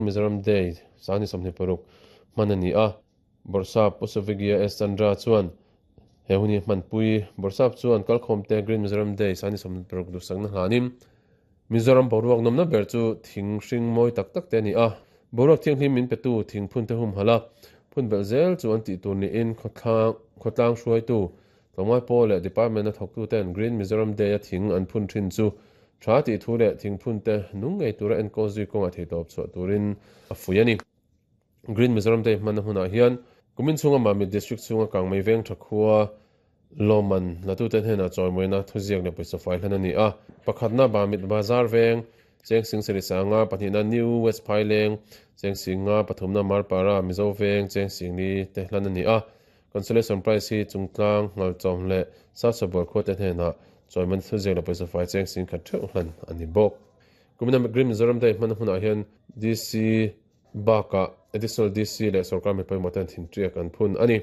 Mizoram Day sangni 26 hman a ni a, Bawrhsap Pu Suvigya S Chandra chuan he hun hi hmanpui. Bawrhsap chuan kalkhawmte Green Mizoram Day sangni 26 duhsakna hlanin Mizoram boruak nawmna ber chu thing hring mawi tak tak te a ni a, boruak thianghlim min petu thing phun te humhalh a, phun belh zel chu an tih tur niin khawtlang hruaitu Tlawmngai pawl leh Department a thawktuten Green Mizoram Day a thing an phun thin chu tha tih thu leh thing phun te nung ngei tura enkawl zui kawngah theihtawp chhuah turin a fuih a ni. Green Mizoram Day hmanna hmunah hian kumin chhunga Mamit District chhunga Kangmei veng tha khua lawmman latute hnenah chawimawina thuziak leh pawisa fai hlan a ni a. Pakhatna Mamit Bazar veng Cheng Sing Seri Sanga, pahnihna New West Phaileng, Cheng Singa, pathumna Marpara Mizo veng Cheng Singli te hlan a ni a. Consolation Prize hi Chungtlang, Ngalchawm leh Sasawbual khuate hnenah chawiman thuziak leh pawisa fai cheng 10,000 theuh hlan a ni bawk. Kumina Green Mizoram Day hmana hmunah hian DC bakah Additional DC leh sorkar mi pawimawh ten thinṭiak an phun a ni.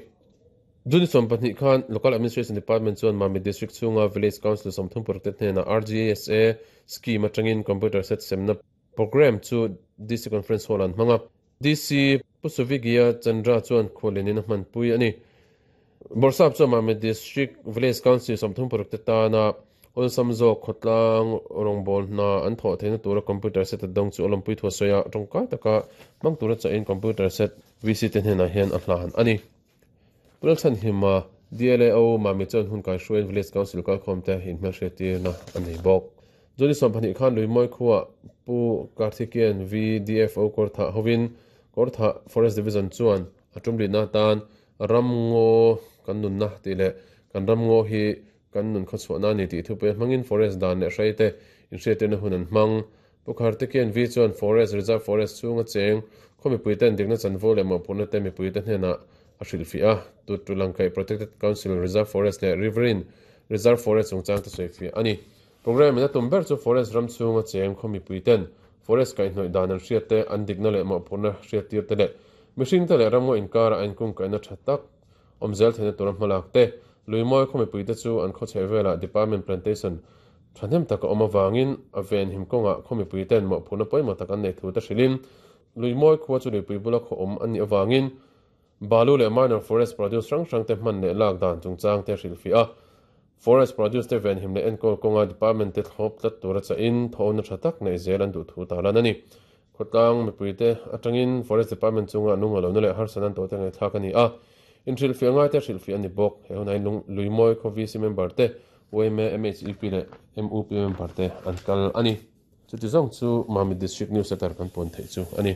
June 12 khan Local Administration Department chuan Mamit District chhunga Village Council 36 te hnenah RGSA Scheme atangin Computer Set semna Programme chu DC Conference Hall an hmang a. DC Pu Suvigya Chandra chuan khualin in a hmanpui a ni. Bawrhsap chuan Mamit District Village Council 36 te tana awlsam zawk khawtlang rawngbâwl hna an thawh theihna tura computer set a dawng chu a lawmpui thu a sawi a, tawngkai taka hmang tura chahin computer set VC te hnenah hian a hlan a ni. Pu Lalchhanhima, DLAO, Mamit chuan hun kaihruaiin Village Council kalkhawmte inhmelhriattirna a nei bawk. June 12 khan Luimawi khuaah Pu Karthikeyan VDFO Kawrthah hovin Kawrthah Forest Division chuan a tumlitna atan Ramngaw kan nunna tih leh Kan ramngaw hi kan nun khawchhuahna a ni tih thupui a hmangin Forest dan leh hreite inhriattirna hun an hmang. Pu Karthikeyan V chuan Forest Reserve Forest chhunga cheng khaw mipuiten dikna chanvo leh mawhphurhna te mipuite hnenah a hrilhfiah a, Tutulangkaih Protected Council Reserve Forest leh Riverine Reserve Forest chungchang te sawifiah a ni. Programme in a tum ber chu Forest ram chhunga cheng khaw mipui ten Forest kaihhnawih dan an hriat te, an dikna leh mawhphurhna hriattir te leh mihring te leh ramngaw inkara a inkungkaihna tha tak awm zel theihna tura hmalak te. Luimawi khaw mipui te chu an khawchheh velah Department Plantation thahnem tak a awm avangin a venhim kawngah khaw mipui ten mawhphurhna pawimawh tak an nei thu te hrilhin Luimawi khua chu luipui bula khaw awm an nih avangin Balu leh minor forest produce hrang hrang te hman leh lak dan chungchang te hrilhfiah a, forest produce te venhim leh enkawl kawnga department te thlawp tlat tura chahin thawhna tha tak neih zel an duh thu tarlan a ni. Khawtlang mipui te atangin forest department chunga nung a lohna leh harsatna an tawhte ngaihthlak a ni a, inhrilhfiah ngai te hrilhfiah a ni bawk. He hunah hian Luimawi khaw VC member te, yma, MHEP leh MUP member te an kal a ni. Chuti zawng chu Mamit District News Letter kan pawn theih chu a ni.